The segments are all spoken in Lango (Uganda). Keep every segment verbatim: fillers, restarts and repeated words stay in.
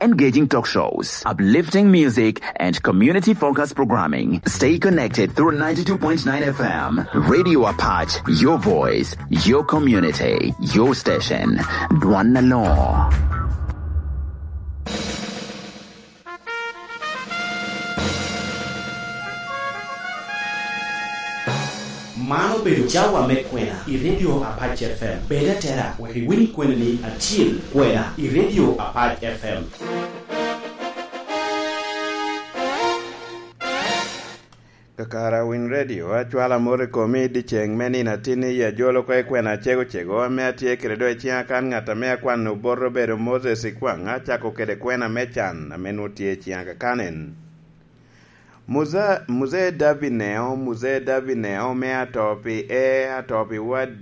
Engaging talk shows, uplifting music, and community focused programming. Stay connected through ninety-two point nine F M. Radio Apac, your voice, your community, your station. Dwan Alor. Man obedo cawa me kwena i Radio Apac F M. Bed atera wek iwiny kwenani atyel, kwena i Radio Apac F M. Kakare Winy Radio, acwalo amot i komi i dyeceŋ me nino atin i ajolo oko i kwena acego cego ame atye kede do i ciŋa kan ŋat ame akwano bot obedo Moses Ikwaŋ, acako kede kwena me can ame nwoŋo tye i ciŋa kakan en. Muza-, Muzee David Neo, Muzee David Neo me ato pi e, ato pi wad,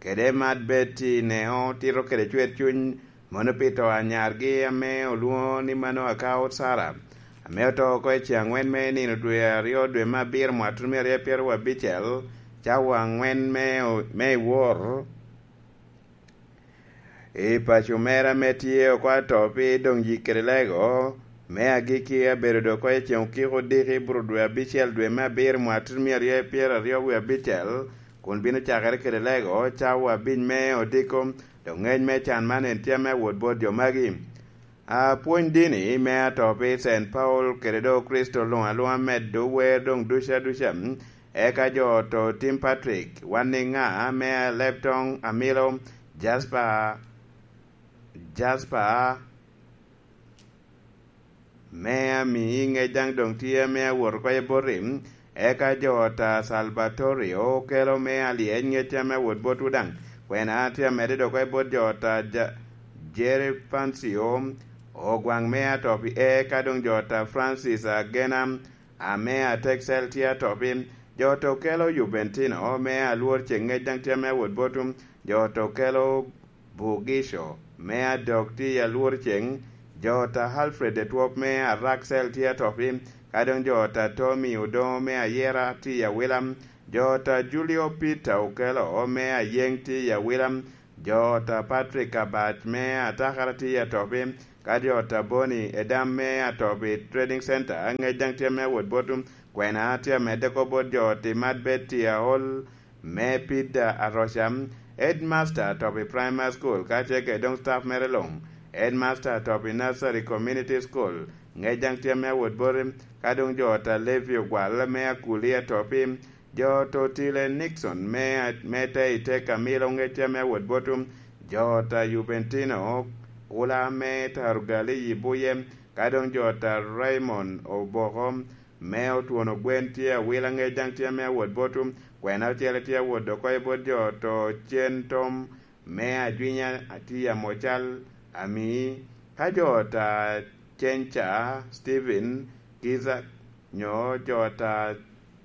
kede Mad Betty Neo tito kede cwer cuny, mono pi to anyargi ame olwoŋo ni Manoa ka Sara, ame oto oko i ceŋ aŋwen me nino dwe aryo dwe me abiro mwaka tutumia aryo pyeraryo abicel, cawa aŋwen me o-, me i wor. I paco mera ame tye oko ato pi doŋ yik kede lego, me agikki abedo dok oko i ceŋ okiko odiki bro dwe abicel dwe me abiro mwaka tutumia aryo pyeraryo wie abicel, kun bino cakere kede lego cawa abic me odiko, dok ŋec me can man en tye ame awot bot jo magi. Apwony dini me ato pi Saint Paul kede do Kricito luŋ aluŋa medo wer doŋ duca duca, eka jo oto tim Patrick, wan i ŋa me aleb toŋ amilo, Jasper, Jasper, me ami ŋec daŋ doŋ tye ame awot oko i boti, eka jo ota Salvatorio okelo me alyec ŋec ame awot botwu daŋ, kwena tye amedde dok oko i bot jo ota Ja-, Jerry Fancio, ogwaŋ me ato pi e, ka doŋ jo ota Francis Agena, ame atek cel tye ato pi, jo ota okelo Juventino me alwor ceŋ ŋec daŋ tye ame awot botwu, jo ota okelo Bugico me adok tye i alwor ceŋ, jo ota Alfred Etwop me Araksel tye ato pi, ka doŋ jo ota Tommy Odoŋo me Ayera tye i awila, jo ota Julio Peter Okelo me Ayeŋ tye i awila, jo ota Patrick Abac me Atakara tye ato pi, ka jo ota Boni Edam me ato pi Trading Center ŋec daŋ tye me awot botwu, kwena tye amedde oko bot jo oti Mad Betty Aol, me Pida Aroca, headmaster ato pi primary school, ka ce kede doŋ staff mere luŋ, headmaster ato pi nursery community school, ŋec daŋ tye me awot boti, ka doŋ jo ota Levi Ogwal me Akuli ato pi, jo ota Otile Nixon me, me te i te Camilo ŋec tye me awot botwu, jo ota Juventino Ula me Tarugali i Buye, ka doŋ jo ota Raymond Oboko, me otwono gwen tye awila ŋec daŋ tye ame awot botwu, kwena ocele tye awot dok oko i bot jo oto cen tom me ajwinya tye amocal ami, ka jo ota Cenca Stephen Kiza nyo jo ota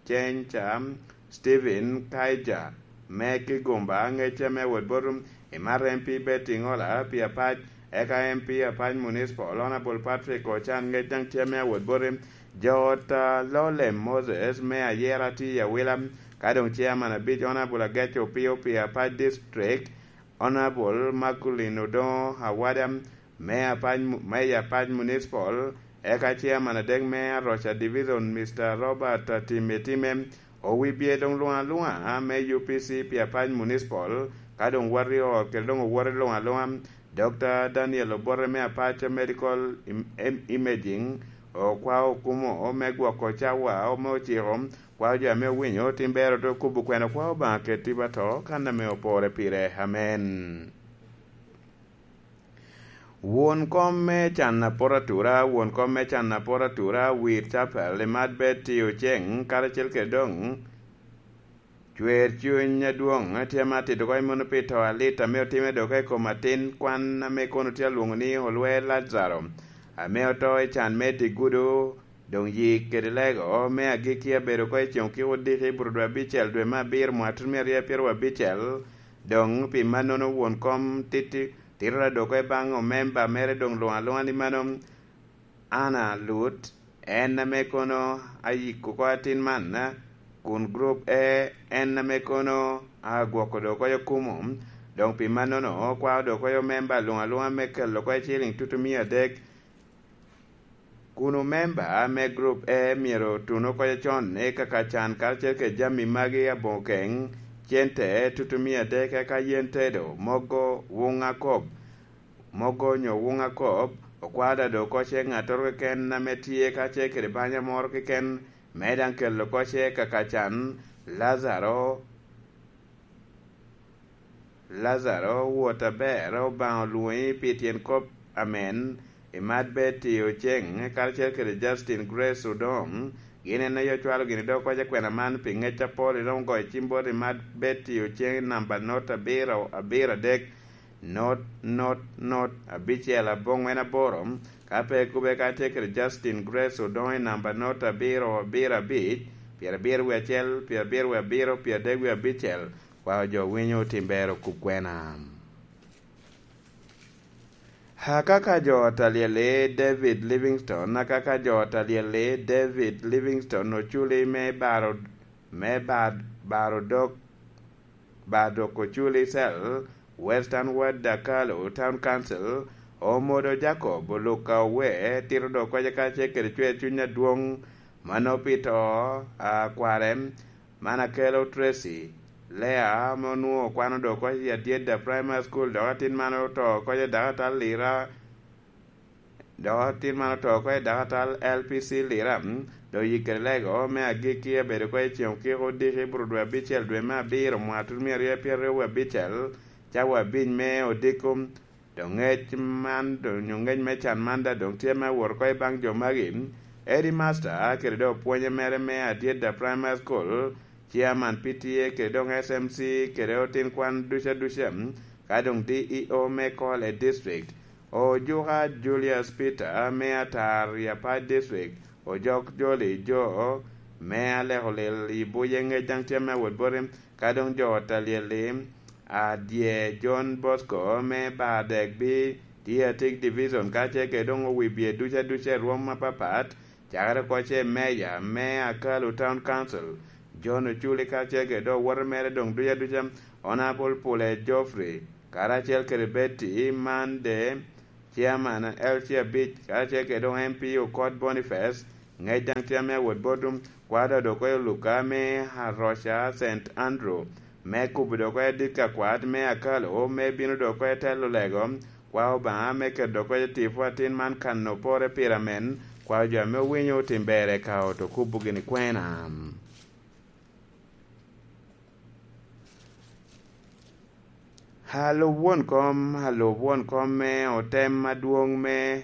Cenca Stephen Kaija me Kigumba ŋec ame awot botwu, imat M P Betty Ŋola pi apac, eka M P apac Municipal Honorable Patrick Ocan ŋec daŋ tye ame awot boti, jo ota Lolem Moses me Ayera tye i awila, ka doŋ chairman abic Honorable Agec Opio pi apac district, Honorable Magdalene Odoŋo Awada me apac mu-, me i apac Municipal, eka chairman adek me Aroca Division, Mister Robert Atime Time, owibye doŋ luŋ aluŋa me U P C pi apac Municipal, ka doŋ wot i ot kede doŋ owote luŋ aluŋa, Doctor Daniel Obote me apac Medical Im-, Im-, Imaging, okwao okumo me gwoko cawa me ociko, kwao jo ame owinyo tim bero te okubo kwena kwao Obaŋa keti ba to, kan ame opore pire. Amen. Won kom me can apot atura, won kom me can apot atura, wir capel, imat bed tiyo ceŋ, karacel kede doŋ cwer cuny adwoŋ, tye ame atito oko i mano pi to alit ame otime dok i kom atin kwan ame kono tye alwoŋo ni olwe Lajaro, ame oto i can me tigudo, doŋ yik kede lego me agikki abedo oko i ceŋ okiko odiki i bur dwe abicel dwe me abiro mwaka tutumia aryo pyeraryo abicel, doŋ pi mannono won kom titi, tito adoko i baŋ omemba mere doŋ luŋ aluŋa ni mano, Anna Lut, en ame kono ayiko oko atin man, kun grup E, en ame kono agwoko dok oko okumo, Doŋ pi mannono, okwao doŋ oko omemba luŋ aluŋa me kelo oko iciliŋ tutumia adek, kun omemba me gurup E myero otun oko con i kaka can karacel kede jami magi aboŋo keŋ, cente tutumia adek, eka yen tedo, mogo, wuŋ akop, mogo nyo wuŋ akop, okwao da doŋ oko ce ŋattoro keken ame tye kacel kede banya moro keken, me daŋ kelo oko ce kaka can. Lazaro, Lazaro, wot aber, Obaŋa olwoŋi pi tyen kop amen. Imat Betty Oceng karacel kede Justin Grace Odong, gin en aye ocwalo gini dok oko ce kwena man pi ŋec apol. Iromo goyo cim bot Imat Betty Oceng i namba not abiro abiro adek, not not not abicel aboŋwen aboro. Ka pe ikube, ka tye kede Justin Grace Odong i namba not abiro abiro abic, pyerabiro wie acel, pyerabiro wie abiro, pyeradek wie abicel. Kwao jo winyo otim ber okub kwena. Akaka jo ot alyel-li David Livingstone, akaka jo ot alyel-li David Livingstone oculi me baro, me bar-, baro dok, bar dok oculi cel, Western Ward Dakalu Town Council, Omodo Jacob Oluka Owe, tito dok oko ce kacel kede cwer cuny adwoŋ, mano pi to a kware, man akelo Tracy Lea, ame onwoŋo kwano dok oko i Adyedda Primary School, dok atin man oto oko i dakatal Lira, dok atin man oto oko i dakatal L P C Lira, mm, dok yikere lego me agikki abedo oko i ceŋ okiko odiki i bur dwe abicel dwe me abiro mwaka tutumia aryo pyeraryo wie abicel, cawa abic me odiko. Doŋ ŋec man, doŋ nyo ŋec me can man daŋ doŋ tye me awot oko i baŋ jo magi. Headmaster kede doŋ opwonye mere me Adyedda Primary School, Chairman P T A kede doŋ S M C kede otin kwan duca duca, ka doŋ D E O me Kole District, Ojuka Julius Peter me Atar i Apac District, Ojok Joli Jo me Alekolil i Buye ŋec daŋ tye me awot boti. Ka doŋ jo ot alyel-li, Adye John Bosco me Badegbi, Tiatik Division, kacel kede doŋ owibye duca duca i rwom apapat, cakere oko ce meya me Akalu Town Council, John Oculi, kacel kede doŋ owote mere doŋ duca duca, Honorable Pule Geoffrey, karacel kede Betty Mande, Chairman L C abic, karacel kede doŋ M P Okot Boniface, ŋec daŋ tye ame awot botwu, kwada dok oko i Oluka me Aroca Saint Andrew, me kubo dok oko i dit ka kwat me Akalo, me bino dok oko i telo lego, kwa Obaŋa me keto dok oko i tipo atin man kan opore pire amen, kwa jo ame owinyo otim ber eka oto kubo gini kwena. Alub won kom, alub won kom me otem adwoŋ me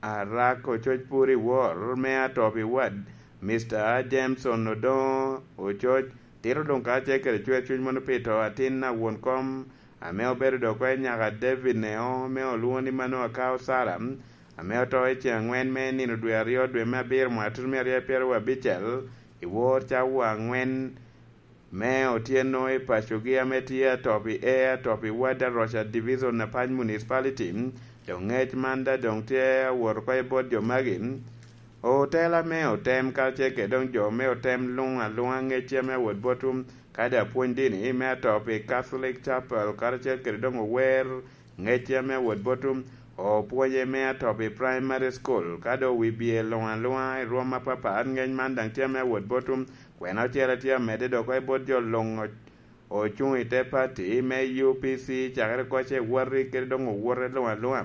Arak Ococ Puri Wor me Atop i Wad, Mister Jameson Odoŋo Ococ, tito doŋ kacel kede cwer cuny mono pi to atin a won kom ame obedo dok oko i nyaka David Neo, ame olwoŋo ni Manoa Kao Sara, ame oto i ceŋ aŋwen me nino dwe aryo, dwe me abiro, mwaka tutumia aryo pyeraryo abicel, i wor cawa aŋwen me otyeno i pacogi ame tye atop i E, atop i Wad Aroca Division, Apac Municipality. Doŋ ŋec man daŋ doŋ tye awot oko i bot jo magi. Otela me otem kacel kede doŋ jo me otem luŋ aluŋa ŋecce ame awot botwu, kadi apwony dini me atop i Catholic Chapel, karacel kede doŋ ower ŋecce ame awot botwu, opwonye me atop i Primary School, ka doŋ wi bye luŋ aluŋa i rwom apapat, ŋec man daŋ tye ame awot botwu. Kwena ocele tye amedde dok oko i bot jo luŋ o-, ocuŋ i te pati me U P C, cakere oko ce wati kede doŋ owote luŋ aluŋa.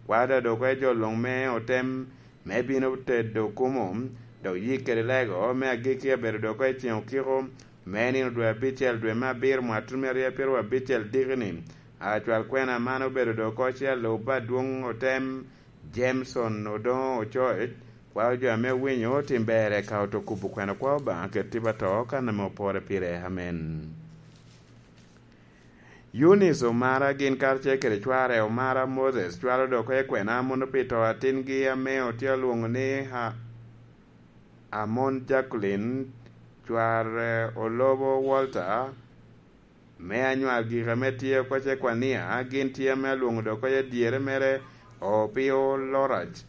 Kwada dok oko i jo luŋ me otem me bino tedo kumo, dok yik kede lego me agikki abedo dok oko i ceŋ okiko me nino dwe abicel, dwe me abiro, mwaka tutumia aryo pyeraryo abicel diki-ni. Acwal kwena man obedo dok oko ce alub adwoŋ otem, Jameson Odoŋo Ococ, kwao jo ame owinyo otim ber eka oto kubo kwena kwa Obaŋa kede tipo ato kan ame opore pire. Amen. Eunice Omara gin karacel kede cware Omara Moses cwalo dok oko i kwena mono pi to atingi ame otye olwoŋo ni A-, Amon Jacqueline, cware Olobo Walter, me anywal gik ame tye oko ce kwania, gin tye ame alwoŋo dok oko i adyere mere, Opio Lorac,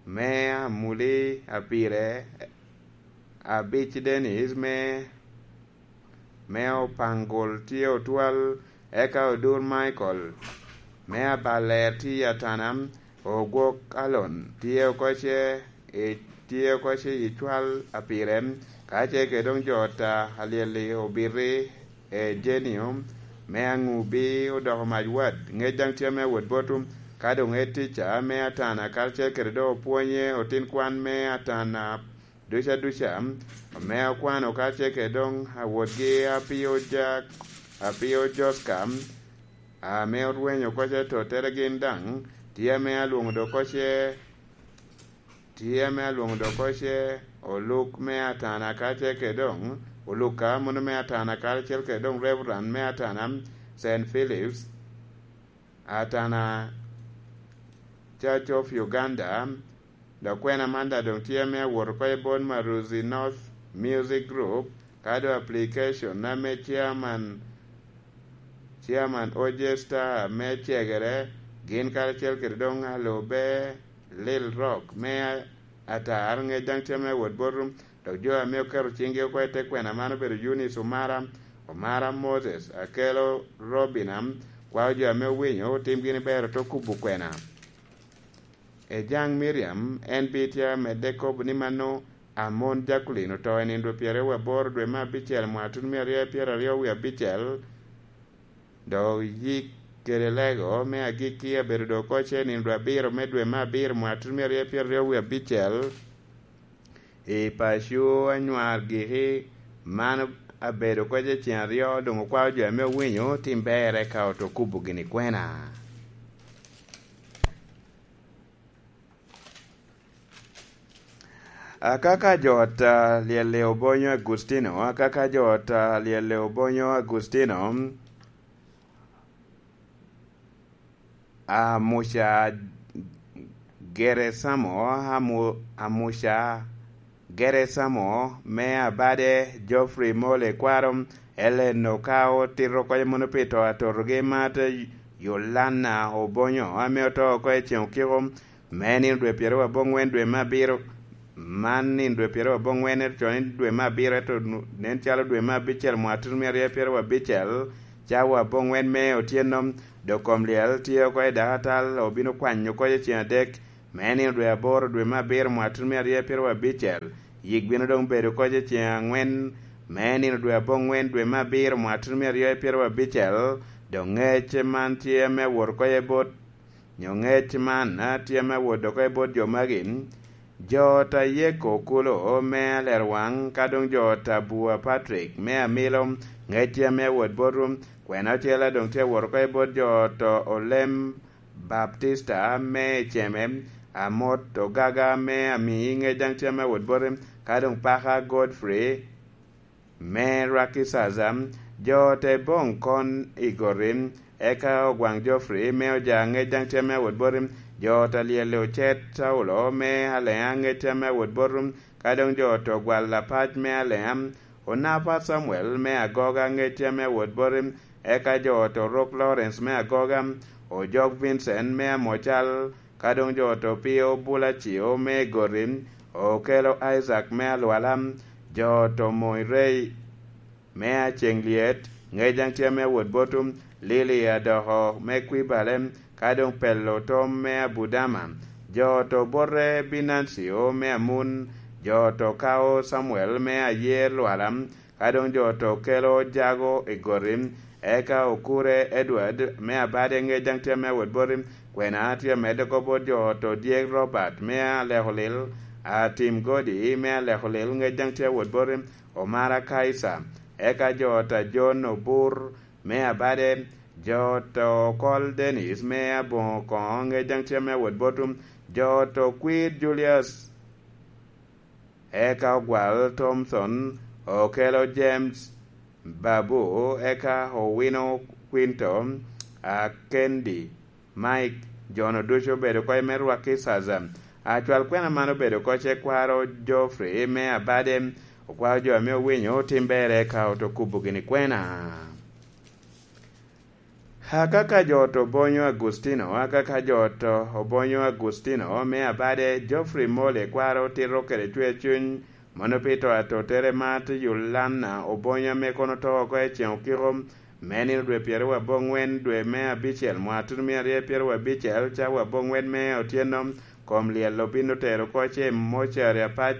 me Amuli Apire, Abic Dennis, me, me Opangol tye otwal, Eka odur Michael me abaler tye i atana, ogwok Alon tye oko ce i, tye oko ce i cwal a pire, ka ce kede doŋ jo ta alyel-li obiti, e Jenio me aŋubi odoko mac wad, ŋec daŋ tye ame awot botu, ka doŋ e tica me atana, karacel kede doŋ opwonye otin kwan me atana duca duca, ame okwano karacel kede doŋ awotgi apio jak, apio Joska, ame orwenyo oko ce tottere gin daŋ, tye ame alwoŋo doŋ oko ce, tye ame alwoŋo doŋ oko ce oluk me atana karacel kede doŋ, oluk ka mono me atana karacel kede doŋ Reverend me atana Saint Philip's, atana Church of Uganda, dok kwena man daŋ doŋ tye ame awot oko i bot Maruzi North Music Group, ka doŋ application ame chairman, chairman Ojesta me cegere, gin karacel kede doŋ alube Lil Rock me atar, ŋec daŋ tye ame awot botu, dok jo ame oketo ciŋgi oko i te kwena man obedo Eunice Omara, Omara Moses, Akelo Robina, kwao jo ame owinyo otim gin ber ote kubo kwena. Ejaŋ Miriam, en bita medde kobo ni mano Amon Jacqueline oto i nino dwe pyeraryo wie aboro dwe me abicel mwaka tutumia aryo pyeraryo wie abicel, dok yik kede lego me agikki abedo doŋ oko ce nino dwe abiro me dwe me abiro mwaka tutumia aryo pyeraryo wie abicel i paco anywar giki. Man abedo oko ce ceŋ aryo, doŋ okwao jo ame owinyo tim ber eka oto kubo gini kwena. Akaka jo ot a Lyelle Obonyo Agustino, akaka jo ot a Lyelle Obonyo Agustino, Amuca Geresamo, Amu-, Amuca Geresamo me Abade, Geoffrey Mole Kwaro, Ellen Okao, tito oko mono pi to atotogi, Martha Yolana Obonyo, ame oto oko i ceŋ okiko, me nino dwe pyeraryo aboŋwen dwe me abiro, man nino dwe pyeraryo aboŋwen, ento con i dwe me abiro, ento nu-, nen calo dwe me abicel mwaka tutumia aryo pyeraryo abicel, cawa aboŋwen me otyeno, dok kom lyel tye oko i dakatal, obino kwanyo oko i ceŋ adek, me nino dwe aboro dwe me abiro mwaka tutumia aryo pyeraryo abicel, yik bino doŋ bedo oko i ceŋ angwen, me nino dwe aboŋwen dwe me abiro mwaka tutumia aryo pyeraryo abicel, dok ŋec man tye me wot oko i bot nyo ŋec man a tye ame awot oko i bot jo magi, jo ot a Yeko Okulo me Alerwaŋ, ka doŋ jo ot a Bua Patrick me Amilo, ŋec tye ame awot botu, kwena ocele doŋ tye awot oko i bot jo ot a Olem Baptista me Eceme, Amot Ogaga me Amii, ŋec daŋ tye ame awot bote, ka doŋ Paka Godfrey me Rwaki Caca, jo te boŋ kon i goti, eka Ogwaŋ Geoffrey me Oja, ŋec daŋ tye ame awot boti, jo te lyel Ocet Saulo me Aleŋa, ŋec tye ame awot boti, ka doŋ jo te Ogwal Apac me Aleŋa, Onapa Samuel me Agoga, ŋec tye ame awot boti, eka jo te Orok Lawrence me Agoga, Ojok Vincent me Amocal, ka doŋ jo te Opio Bulacio me Goti, Okelo Isaac me Alwala, jo te Moirei me Aceŋ Lyet, ŋec daŋ tye ame awot botu, Lili Adoko me Kwibale, ka doŋ Pelo Tom me Abudama, jo te Obote Binancio me Amun, jo te Okao Samuel me Ayer Lwala, ka doŋ jo te Okelo Jago i Goti, eka Okure Edward me Abade, ŋec daŋ tye ame awot boti, kwena tye amedde oko bot jo te Odyek Robert me Alekolil, Atim Godi me Alekolil, ŋec daŋ tye awot boti, Omara Kaisa, eka jo ot a John Obur me Abade, jo ot a Okol Dennis me Aboŋo Koŋo, ŋec daŋ tye ame awot botu, jo ot a Okwir Julius, eka Ogwal Thomson, Okelo James Babu, eka Owino Quinto, Akendi Mike, jo-nu ducu obedo oko i me Rwaki Caca. Acwal kwena man obedo oko ce kwaro Geoffrey me Abade, okwao jo ame owinyo otim ber eka oto kubo gini kwena. Akaka jo ot Obonyo Agustino, akaka jo ot Obonyo Agustino me Abade, Geoffrey Mole kwaro tito kede cwer cuny, mono pi to atotere Martha Yolana Obonyo ame kono oto oko i ceŋ okiko, me nino dwe pyeraryo aboŋwen dwe me abicel mwaka tutumia aryo pyeraryo abicel, cawa aboŋwen me otyeno, kom lyel obin otero oko ce mocari apac,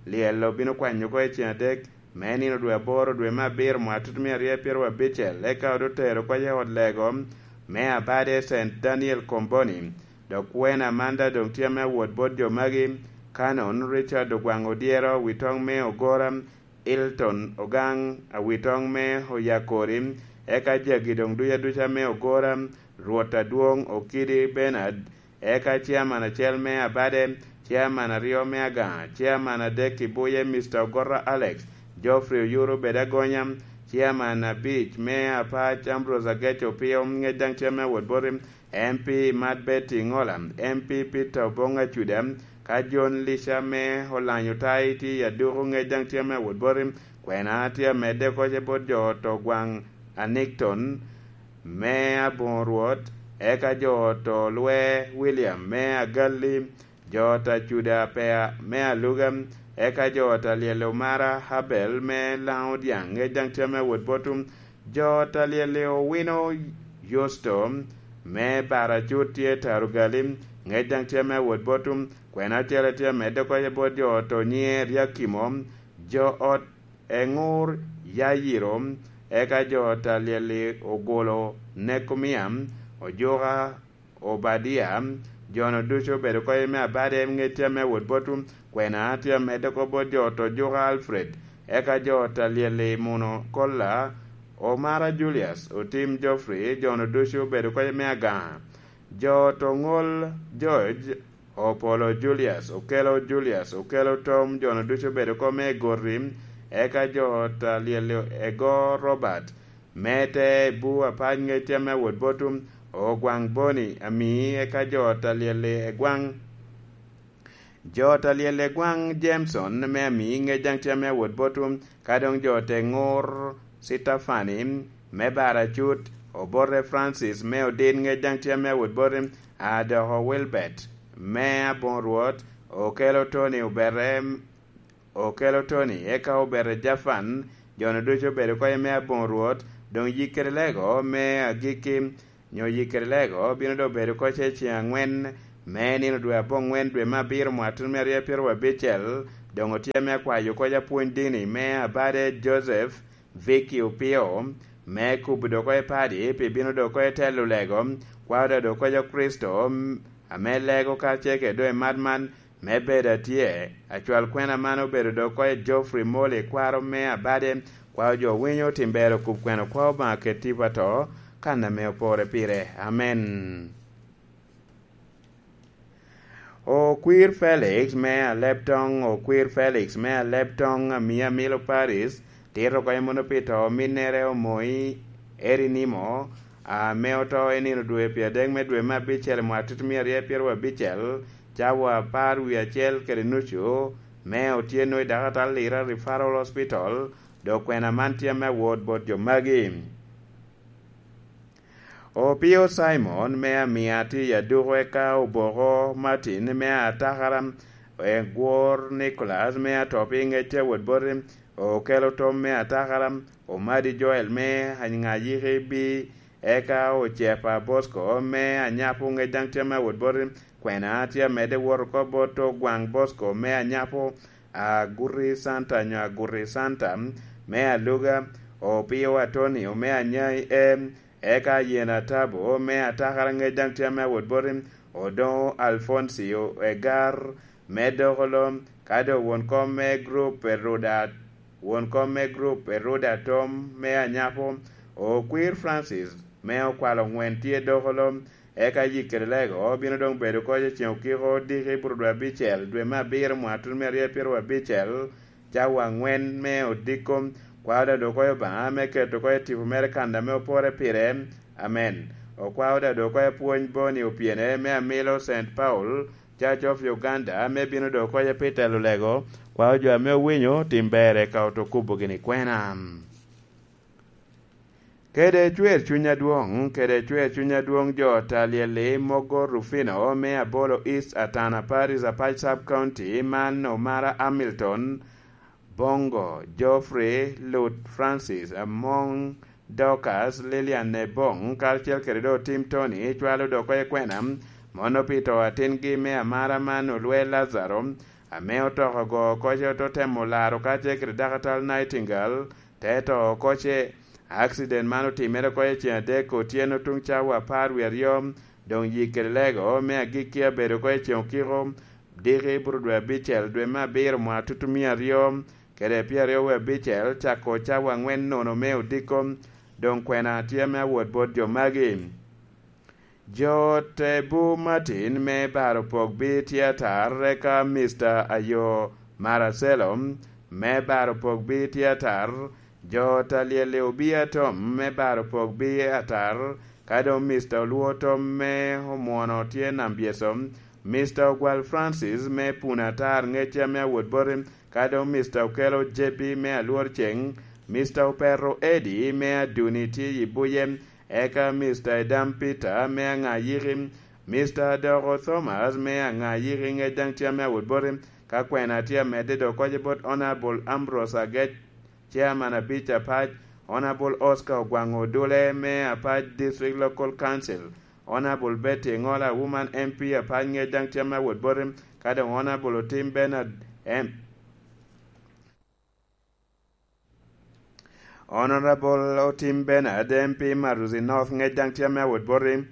lyel obin okwanyo oko i ceng adek, me nino dwe aboro dwe me abiro mwaka tutumia aryo pyeraryo abicel, eka ote otero oko i ot lego me abade Saint Daniel Comboni, dok kwena Amanda doŋ tye ame awot bot jo magi, Canon Richard Ogwaŋ Odyero, awitoŋ me Ogora, Hilton Ogaŋ, awitoŋ me Oyakori, eka jagi doŋ duca duca me Ogora, Rwot Adwoŋ Okidi Bernard, eka ciaman acel me Abade, ciaman aryo me Agaŋa, ciaman adek i Buye Mister Ogorra Alex, Geoffrey Oyuru Bedagonya, ciaman abic me Apac Ambrose Agec Opio, ŋec daŋ ciaman awot boti, M P Mad Betty Ŋola, M P Peter Oboŋ Acuda, ka John Lica me Olanyo Tai tye i aduku, ŋec daŋ tye ame awot boti, kwena tye amedde oko ce bot jo oto Gwaŋ Anikton me Aboŋo Rwot, eka jo oto Lwe William me Agalli, jo oto Acuda Pea me Aluga, eka jo oto Alyel Omara Abel me Laŋo Dyaŋ, ŋec daŋ tye ame awot botwu, jo oto Alyel Owino Yusto me Baracut tye Tarugali, ŋec daŋ tye ame awot botwu, kwena acel tye amedde oko ce bot jo oto Nyiŋe Ryakimo, jo ot Eŋur Yayiro, eka jo oto Alyel Ogolo Nekomia, Ojuka Obadia, jo-nu ducu obedo oko me Abade, ŋec tye ame awot botwu, kwena tye amedde oko bot jo oto Ojuka Alfred, eka jo oto Alyel Muno Kolla, Omara Julius, Otim Geoffrey, jo-nu ducu obedo oko me Agaŋa, jo oto Ŋol George, Opolo Julius, Okelo Julius, Okelo Tom, jo-nu ducu obedo oko me Egoti, eka jo oto Alyel Ego Robert, me te bu apac ŋec tye ame awot botwu, Ogwaŋ Boni Amii, eka jo oto Alyel Egwaŋ, jo oto Alyel Egwaŋ Jameson me Amii, ŋec daŋ tye ame awot botwu, ka doŋ jo oto Eŋur Citafani me Baracut, Obote Francis me Odit, ŋec daŋ tye ame awot boti, Adoko Wilbert me Aboŋo Rwot, Okelo Tony Obete, Okelo Tony, eka Obete Jafan, jo-nu ducu obedo oko me Aboŋo Rwot, doŋ yikkere lego me agikki, nyo yikkere lego bino doŋ bedo oko ce ceŋ aŋwen me nino dwe aboŋwen dwe me abiro mwaka tutumia aryo pyeraryo abicel, doŋ otye ame akwayo oko apwony dini me Abade Joseph Vicky Opio, me kubo doŋ oko padi pi bino doŋ oko telo lego, kwao doŋ oko Kricito, ame lego karacel kede doŋ i mat man, me bedo atye, acwal kwena man obedo doŋ oko Geoffrey Moli, kwaro me Abade, kwao jo winyo tim ber okub kwena, kwao Obaŋa ket tipo ato, kan ame opore pire. Amen. Okwir Felix me Aleptoŋ, Okwir Felix me Aleptoŋ, Amia Milo Paris, tito oko mono pi to ominnere Omoi Erinimo, ame oto i nino dwe pyeradek me dwe me abicel i mwaka tutumia aryo pyeraryo abicel, cawa apar wie acel kede nucu, me otyeno i Dakatal Lira Referral Hospital, dok kwena man tye ame awot bot jo magi. Opio Simon me Amia tye i aduko, eka Oboko Martin me Atakara, Egwor Nicholas me Atopi ŋec tye awot boti, Okelo Tom me Atakara, Omadi Joel me Anyŋayiki bi, eka Ocepa Bosco me Anyapo ŋec daŋ tye ame awot boti, kwena tye amedde wot oko bot Ogwaŋ Bosco me Anyapo, Aguti Santa nyo Aguti Santa me Aluga, Opio Atonio me Anyai E, eka Yen Atabo me Atakara ŋec daŋ tye ame awot boti, Odoŋo Alfoncio Egar me Dokolo, ka doŋ won kom me grup Eruda, won kom me grup Eruda Tom me Anyapo, Okwir Francis me Okwalo Ŋwen tye Dokolo, eka yikkere lego bino doŋ bedo oko i ceŋ okiko odiki i buto dwe abicel, dwe me abiro, mwaka tutumia aryo pyeraryo abicel, cawa aŋwen me odiko, kwao doŋ oko Obaŋa me keto oko tipo mere kan ame opore pire. Amen. Okwao doŋ oko apwony Boni Opyene me Amilo Saint Paul, Church of Uganda, ame bino doŋ oko pi telo lego, kwao jo ame owinyo tim ber eka oto kubo gini kwena. Kede cwer cuny adwoŋ, kede cwer cuny adwoŋ jo Talieli mogo Rufino me Abolo East Atana Parish Apac Sub County, man Omara Hamilton, Bongo, Geoffrey, Lut Francis, Among, Dorcas, Lilian Ebong, karacel kede dok Tim Tony cwalo dok oko i kwena, mono pi to atingi me amara man olwe Lazaro, ame otoko ogo oko ce ote temo laro kacel kede Dakatal Nightingale, te to oko ce. Akcident man otimere oko i ceng adek otyeno tuŋ cawa apar wie aryo, doŋ yik kede lego me agikki abedo oko i ceng okiko, diki buro dwe abicel dwe me abiro mwa tutumia aryo kede pyeraryo wie abicel, cako cawa angwen nono me odiko. Doŋ kwena tye me awot bot jo magi. Jo te bu Martin me baro pok bi tye atar, eka Mister Ayo Maracelo me baro pok bi tye atar, jo ta lyel i obia Tom me baro pok bi atar, ka doŋ Mister Olwo Tom me omwono tye Nambyeso, Mister Ogwal Francis me Puna Atar ŋecca me awot boti, ka doŋ Mister Okelo J B me Alwor Ceng, Mister Opeto Eddie me Aduni tye i Buye, eka Mister Edam Peter me Aŋayiki, Mister Adoko Thomas me Aŋayiki ŋec daŋ tye ame awot boti, ka kwena tye amedde dok koce bot Honourable Ambrose Agec, Chairman abic apac, Honourable Oscar Ogwaŋ Odule me apac District Local Council, Honourable Betty Ŋola Woman M P apac ŋec daŋ tye ame awot boti, ka doŋ Honourable Otim Bernard M Honorable Otim Bernard, M P Maruzi North, ŋec daŋ tye ame awot boti.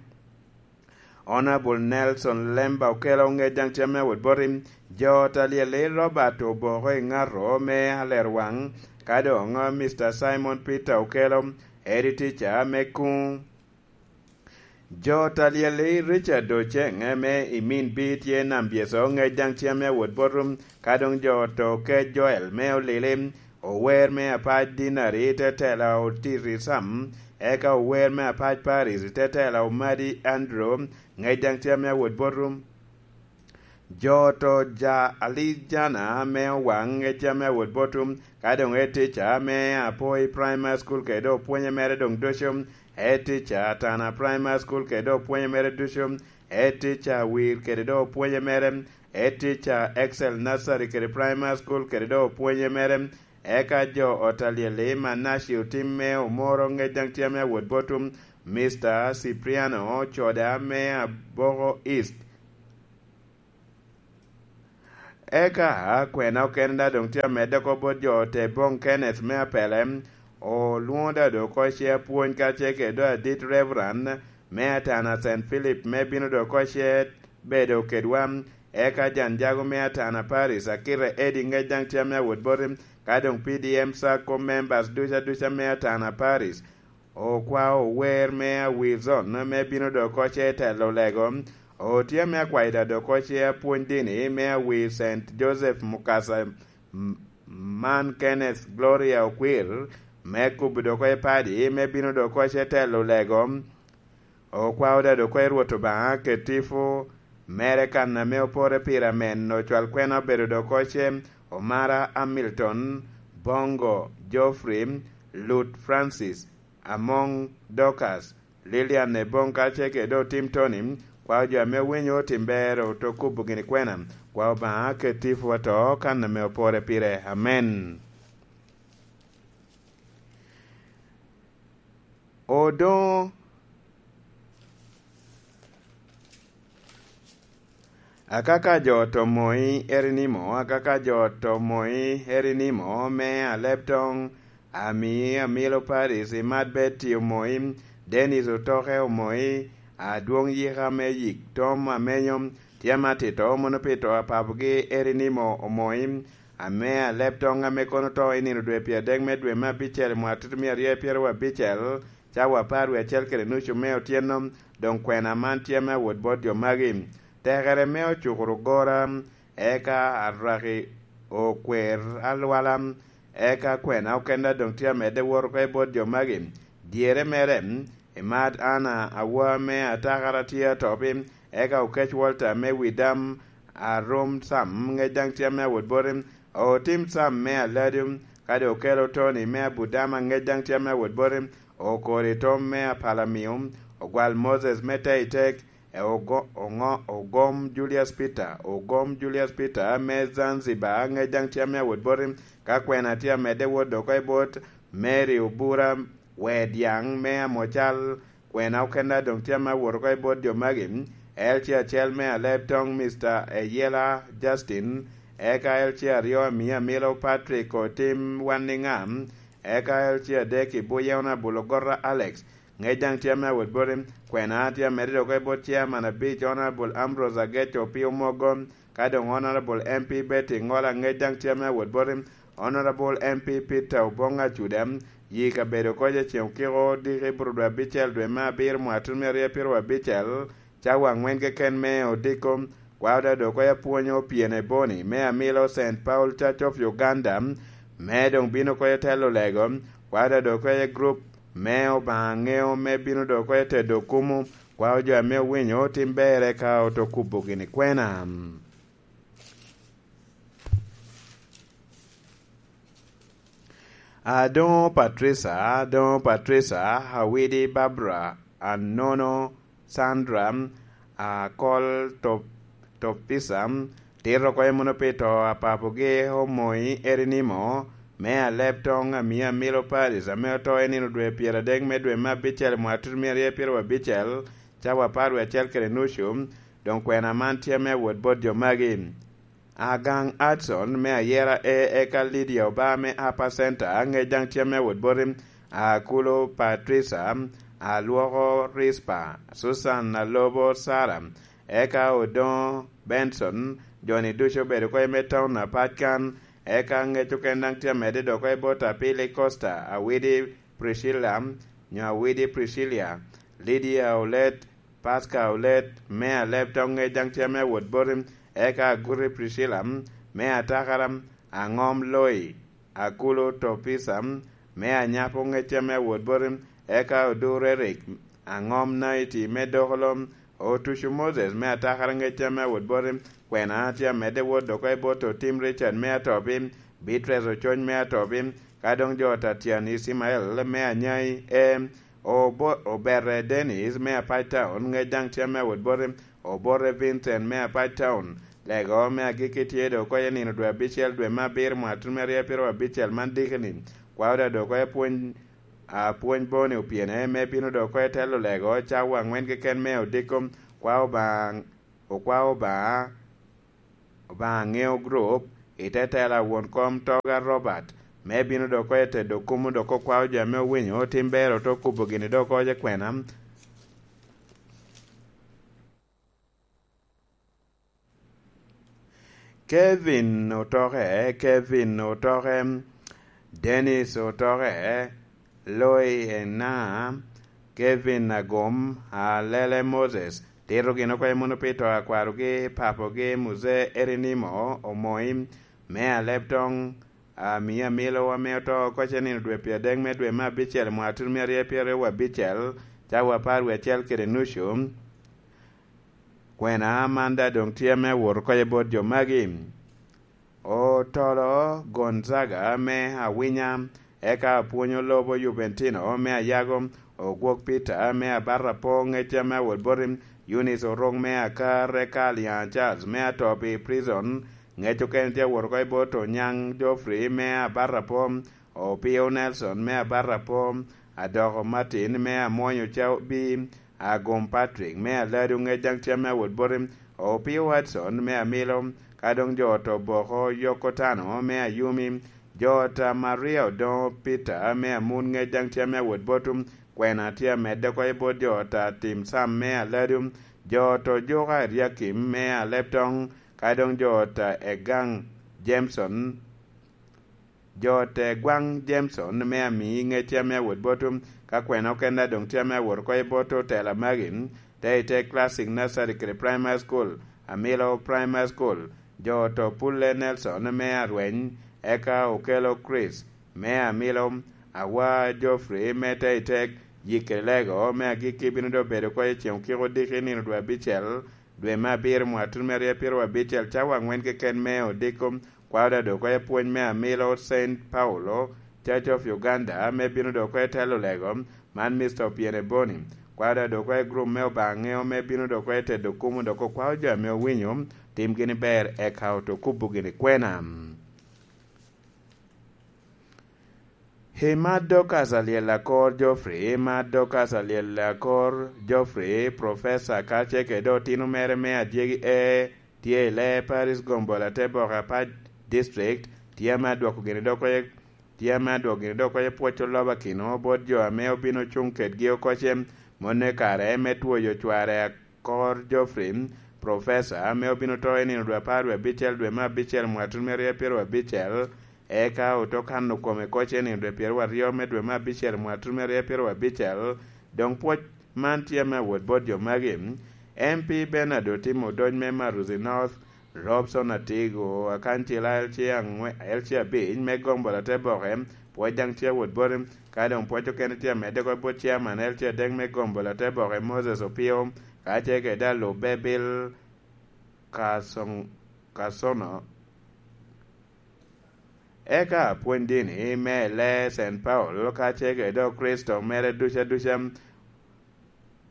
Honorable Nelson Lemba Okello, ŋec daŋ tye ame awot boti. Jo ta lyel i Robert Oboko i Ŋato me Alerwaŋ, ka doŋ Mister Simon Peter Okello, Eddie Teacher me Kuŋ. Jo ta lyel i Richard Oceng me i Min Bi tye Nambyeso, ŋec daŋ tye ame awot boti, ka doŋ jo to ke Joel me Olili, ower me apac Dinari, te tela Otiti Sam, eka ower me apac Paris, te tela Omadi Andrew, ŋec daŋ tye ame awot boti. Jo to ja Alijana me Owaŋ, ŋec tye ame awot boti, ka doŋ e teacher me Apoi Primary School kede opwonye mere doŋ ducu, e teacher Atana Primary School kede opwonye mere ducu, e teacher Awir kede doŋ opwonye mere, e teacher Excel Nursery kede Primary School kede doŋ opwonye mere, eka jo ot a lyel i Manaci Otim me Omoro, ŋec daŋ tye ame awot boti, Mister Cipriano Coda me Aboko East. Eka kwena okene daŋ doŋ tye amedde oko bot jo te boŋ Kenneth me Apele, olwoŋo daŋ doŋ oko ce apwony kacel kede doŋ adit Reverend me Atana Saint Philip me bino doŋ oko ce bedo kedwa. Eka Janjago me Atana Paris, Akita Eddie ŋec daŋ tye ame awot boti, ka doŋ P D M Sacco members duca duca me Atana Paris, okwao ower me Awir Zone me bino doŋ oko ce telo lego, otye ame akwayo daŋ doŋ oko ce apwony dini me Awir Saint Joseph Mukasa, m-, man Kenneth Gloria Okwir, me kubo doŋ oko i padi me bino doŋ oko ce telo lego. Okwao daŋ doŋ oko i Rwot Obaŋa kede tipo mere kan ame opore pire amen, ocwal kwena obedo doŋ oko ce Omara Hamilton, Bongo Geoffrey, Lut Francis, Amoŋ Dorcas, Lilian Ebong kacel kede Otim Tony, kwao jo ame owinyo Otim Ber oto kubo gini kwena, kwao Obaŋa kede tipo ato kan ame opore pire. Amen. Odoŋo Akaka jo to moi Erinimo, akaka jo to moi Erinimo me Aleptoŋ, Ami Amilo Paris, Imat Betty omoi, Dennis Otoke omoi, Adwoŋ Yika me Yik Tom Amenyo, tye ama tito mono pi to a papogi Erinimo omoi, ame Aleptoŋ ame kono to i nino dwe pyeradek me dwe me abicel i mwaka tutumia aryo pyeraryo abicel, cawa apar wie acel kede nucu me otyeno, doŋ kwena man tye me awot bot jo magi. Tekere me ocukuru gora, eka arwaki okwer alwala, eka kwena okenda doŋ tye amedde wot oko i bot jo magi. Dyere mere, Imat Anna Awa me Atakara tye atop, eka Okec Walter me Widam, Arom Sam ŋec daŋ tye me awot boti, Otim Sam me Aladu, kadi Okelo Tony me Abudama ŋec daŋ tye me awot boti, Okori Tom me Apalamio, Ogwal Moses me Teitek, e Ogo-, Oŋo-, Ogom Julius Peter, Ogom Julius Peter me Zanzibar ŋec daŋ tye me awot boti, ka kwena tye amedde wot doŋ oko i bot Mary Obura Wed Yaŋ me Amocal. Kwena okenda doŋ tye ame awot oko i bot jo magi, L C acel me Aleb Toŋ, Mister Eyela Justin, eka L C aryo Amia Amilo Patrick Otim Wanniŋam, eka L C adek i Buye Honourable Ogorra Alex. Ŋec daŋ tye ame awot boti, kwena tye amedde dok oko i bot Chairman abic Honourable Ambrose Agec Opio Mogo, ka doŋ Honourable M P Betty Ŋola. Ŋec daŋ tye ame awot boti, Honourable M P Peter Obong Acuda, yi kabedo koc i ceŋ okiko odiko i Burudu abicel dwe me abiro mwaka tutumia aryo pyeraryo abicel, cawa aŋwen keken me odiko. Kwao dado oko apwonyo Opyene Boni me Amilo Saint Paul Church of Uganda, me doŋ bino oko i telo lego. Kwao dado oko i group me Obaŋa Ŋeo me bino dok oko i tedo kumu. Kwao jo ame owinyo tim berre ka oto kubo gini kwena. Adoŋo Patricia, Adoŋo Patricia, Awidi Barbara, Anono Sandra, Akol Top-, Topisa, tito oko i muno pi to a papogi Omoyi Erinimo, me Aleb Toŋ Amia Amilo Paris, ame oto i nino dwe pyeradek me dwe me abicel i mwaka tutumia aryo pyeraryo abicel, cawa apar wie acel kede nucu. Doŋ kwena man tye ame awot bot jo magi. Agaŋ Adson me Ayera A, eka Lydia Oba me Upper Center, ŋec daŋ tye ame awot boti, Akulo Patricia, Alwoko Rispa, Susan Alobo Sara, eka Odoŋo Benson, jo-ni ducu obedo oko i me taun apac kan, eka ŋec okene daŋ tye amedde dok oko i bot Apili Costa, Awidi Priscilla, nyo Awidi Priscilla, Lydia Olet, Pasca Olet me Aleb Toŋ ŋec daŋ tye ame awot boti, eka Aguti Priscilla me Atakara, Aŋom Loi, Akulo Topisa me Anyapo ŋec tye ame awot boti, eka Odur Eric, Aŋom Naiti me Dokolo, Otucu Moses me Atakara ŋec tye ame awot boti, kwena tye amedde wot dok oko i bot Otim Richard me Atopi, Beatrice Ocony me Atopi, ka doŋ jo Tatian Ismael me Anyai, e, Obo-, Obere Dennis me Apac Town, ŋec daŋ tye ame awot boti, Obore Vincent me Apac Town. Lego me agikki tye dok oko i nino dwe abicel dwe me abiro mwaka tutumia aryo pyeraryo abicel man diki-ni. Kwao dado oko i pwony, a, pwony Boni Opyene me bino dok oko i telo lego cawa aŋwen keken me odiko. Kwao Obaŋa, okwao Obaŋa, Obaŋa Ŋeo Group, i te tela won kom Toga Robert, me bino dok oko i tedo kumo dok okwao jo ame owinyo otim bero oto kubo gini dok oko i kwena. Kevin Otoke, Kevin Otoke, Dennis Otoke, Loi Ena, Kevin Agom, Alele Moses, tito gin oko i muno pi to a kwarogi, papogi, Muzee Erinimo Omoim, me Aleb Toŋ, Amia Amilo ame oto oko i nino dwe pyeradek me dwe me abicel, mwaka tutumia aryo pyeraryo abicel, cawa apar wie acel kede nucu. Kwena man daŋ doŋ tye ame awot oko i bot jo magi. Otolo Gonzaga me Awinya, eka apwonyo lobo Juventino me Ayago, Ogwok Peter me Abarapo, ŋec ame awot boti, Eunice Orok me Akar, eka Alian Charles me Atopi Prison, ŋec okene tye awot oko i bot Onyaŋ Geoffrey me Abarapo, Opio Nelson me Abarapo, Adoko Martin me Amwonyo Cabi, Agom Patrick me Aladu, ŋec daŋ tye ame awot boti, Opio Watson me Amilo, ka doŋ jo ot Oboko Yokotano me Ayumi, jo ot a Maria Odoŋo Peter me Amun, ŋec daŋ tye ame awot boti, kwena tye amedde oko i bot jo ot a Tim Sam me Aladu, jo ot Ojuka Eriakim me Aleb Toŋ, ka doŋ jo ot a Egaŋ Jameson, jo ot a Egwaŋ Jameson me Amii, ŋec tye ame awot boti, ka kwena okene doŋ tye ame awot oko i bot otela magi, te i te Classic Nursery kede Primary School, Amilo Primary School, jo ot Opulle Nelson me Arweny, eka Okelo Chris me Amilo, Awa Geoffrey me Teitek, Yikere Lego me Agikki bino doŋ bedo oko i ceŋ okiko odiki nino dwe abicel, dwe me abiro, mwaka tutumia aryo pyeraryo abicel, cawa aŋwen keken me odiko, kwao dado oko i pwony me Amilo Saint Paulo Church of Uganda, me bino dok oko i telo lego, man Mister Opiene Boni. Kwao dado oko i group me Obaŋa Ŋeo, me bino dok oko i tedo kumo, dok okwao jo ame owinyo timgi ni ber, eka oto kubo gini kwena. I Mad Dorcas Alyel Akor Geoffrey, Mad Dorcas Alyel Akor Geoffrey, Professor, ka ce kede otino mere me adyegi e tye i lee Paris Gombol Atebok Apac District, tye ame adwoko gini dok oye, tye ame adwoko gini dok oye pwoc oloba kino bot jo ame obino cuŋ kedgi okoce, monne kare me twoyo cware Akor Geoffrey, Professor, ame obino to i nino dwe apar dwe abicel dwe me abicel mwatun me rye pyero abicel, eka oto kano kome koc i nino dwe pyero aryo me dwe me abicel mwatun me rye pyero abicel. Doŋ pwoc man tye ame awot bot jo magi: M P Bernard Otimo Odony me Maruzi North, Robson Atigo, akancila L C abic me Gombol Ateboke, pwoc daŋ tye awot boti. Ka doŋ pwoc okene tye amedde oko bot Chairman L C adek me Gombol Ateboke, Moses Opio, ka ce kede alubbe Bill Kasoŋ-, Kasono. Eka apwony dini me lee Saint Paul, ka ce kede Okricito mere duca duca,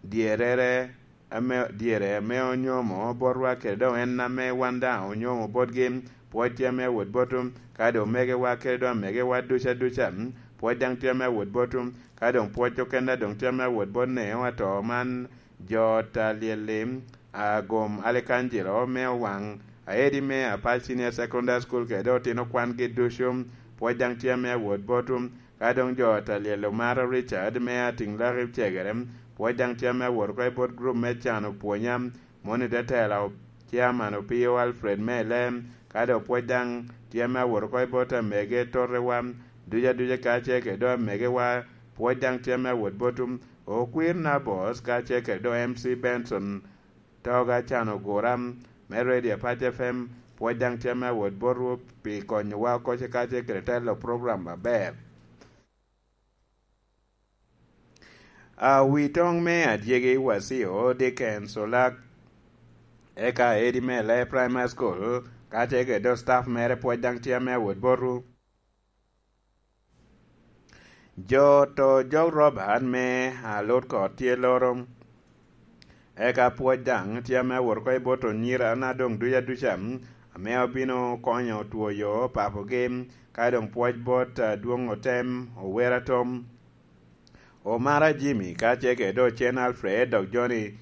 dyerere ame, dyere ame onyomo botwa kede doŋ en ame wan daŋ onyomo botgi, pwoc tye ame awot botwu, ka doŋ omegewa kede doŋ amegewa duca duca, pwoc daŋ tye ame awot botwu, ka doŋ pwoc okene doŋ tye ame awot bot neo ato man, jo ot alyel-li, Agom Alekanjiro me Owaŋ, aedi me Apac Senior Secondary School kede otino kwangi ducu, pwoc daŋ tye ame awot botwu, ka doŋ jo ot alyel Omara Richard me Atiŋlaki Cegere, pwoc daŋ tye ame awot oko i bot gurup me Can Opwonya, moni te tela o-, Chairman Opio Alfred Mele, ka doŋ pwoc daŋ tye ame awot oko i bot amege Totewa, duca duca ka ce kede doŋ amegewa, pwoc daŋ tye ame awot botwu, Okwir Nabos ka ce kede doŋ M C Benson, Toga Can Ogura, me Radio Apac F M, pwoc daŋ tye ame awot botwu pi konyowa okoce ka ce kede telo program aber. A wi toŋ me adyegi Wasio Dickens Olak, eka edi me Lee Primary School, ka ce kede doŋ staff mere pwoc daŋ tye ame awot botwu. Jo to jog Robert me Alut Kot tye loro, eka pwoc daŋ tye ame awot oko i bot onyira na doŋ duca duca, ame obino konyo twoyo papogi, ka doŋ pwoc bot adwoŋ otem, ower atom. Omara Jimmy, ka ce kede Ocen Alfred, dok Johnny,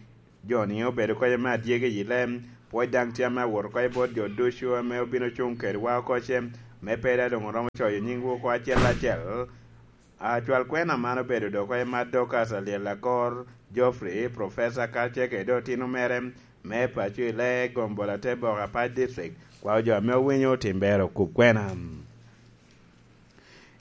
Johnny obedo kede me adyegi i lem, pwoc daŋ tye ame awot oko i bot jo ducu ame obino cuŋ kedwa okoce, me pe daŋ doŋ oromo coyo nyingwu oko acel acel. Acwal kwena man obedo dok oko i Mad Dorcas Alyel Akor, Geoffrey, Professor, ka ce kede otino mere, me paco i lee Gombol Atebok Apac District, kwao jo ame owinyo otim ber okub kwena.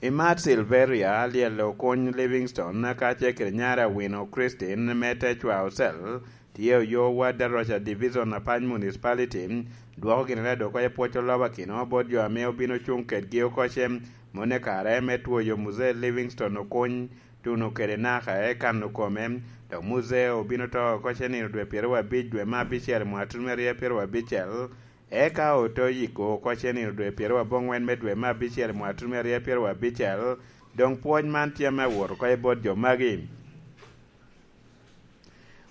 I Mad Silveria, Alyel Okuny Livingstone, ka ce kede nyare Awino Christine me Techwa Ocel, tye oyo wad Aroca Division Apac Municipality, dwoko gini dok oye pwoc oloba kino bot jo ame obino cuŋ kedgi okoce, monne kare me twoyo Muzee Livingstone Okuny, tuno kede naka e kano kome, dok Muzee obino to okoce nino dwe pyero abic dwe me abicel mwatun me rye pyero abicel, eka oto yiko oko cenino dwe pyero aboŋwen me dwe me abicel mwatun me rye pyero abicel, doŋ pwoc man tye ame awot oko i bot jo magi.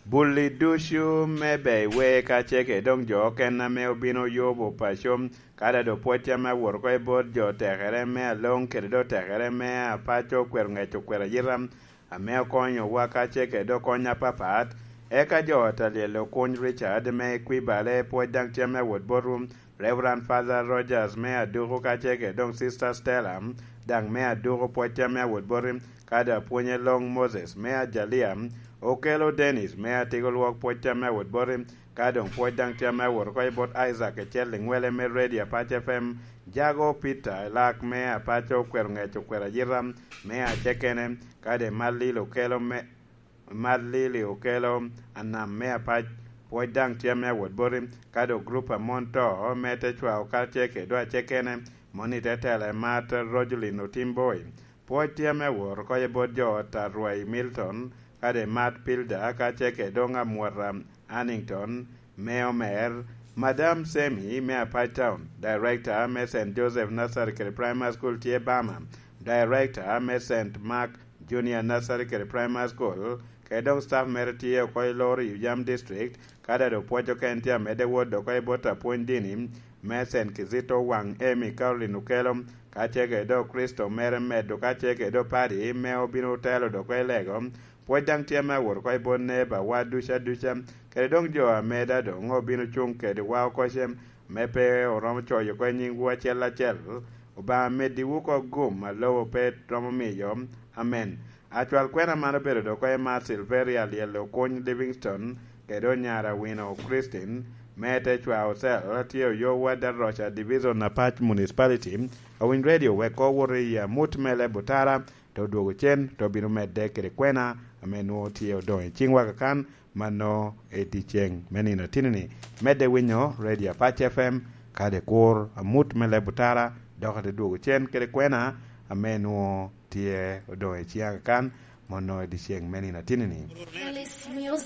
Bulli ducu me Beiwe ka cege doŋ jo okene ame obino yubo paco, ka dado pwoc tye ame awot oko i bot jo tekere me aloŋ kede do tekere me apaco okwero ŋec okwero ayita, ame okonyowa ka ce kede okony apapat. Eka jo ot alyel Okuny Richard me Equibale pwoc daŋ tye ame awot botwu, Reverend Father Rogers me Aduku ka ce kede doŋ Sister Stella daŋ me Aduku pwoc tye ame awot boti, ka doŋ apwonye Long Moses me Ajalia, Okelo Dennis me Atiko Lwok pwoc tye ame awot boti, ka doŋ pwoc daŋ tye ame awot oko i bot Isaac Ecel Liŋwele me Radio Apac F M, Jago Peter Elak me Apaco okwero ŋec okwero ayita me Acekene, kadi Malil Okelo me, Malili Okelo Anam me Apac, pwoc daŋ tye ame awot boti, kadi Ogrup Amon To me Techwa Okace kede Acekene, moni te tela i Mat Rogelin Otimboi. Pwoc tye ame awot oko i bot jo ot a Rwai Milton, kadi Mat Pilda, ka ce kede doŋ amwot a Annington, me Omer, Madam Semi me Apac Town, Director me Saint Joseph Nursery kede Primary School tye Bama, Director me Saint Mark Junior Nursery kede Primary School, kede dok staff mere tye oko i Lori Yam District, ka dado pwoc okene tye amedde wot dok i bot apwony dini me Saint Kizito Wang Emi Caroline Okelo, ka ce kede dok Kristo mere medo ka ce kede dok padi me obino telo dok i lego. Pwoc daŋ tye me awot oko i bot neba wa duca duca, kede dong jo ameda dong obino cuŋ kede wa okoce, me pe oromo coyo oko i nyiŋwu acel acel. Obaŋa meddiwu oko gum a lobo pe romo miyo. Amen. Acwal kwena man obedo dok oko i mar Silveria Lyel Okuny Livingstone, kede onyara Wino Christine, me te cwa ocel, tye oyowa Daroca Division Apac Municipality, awiny radio wek ko wot i amut me leb otara, te odwogo cen, te obino medde kede kwena, ame nwoŋo tye odoŋ i ciŋwa kakan, mano i dyeceŋ me nino atini-ni. Medde winyo Radio Apac F M, kadi kur amut me leb otara, dok ate dwogo cen kede kwena, ame nwoŋo tye odoŋ i ciŋa kakan, mano i dyeceŋ me nino atini-ni. Alice Music.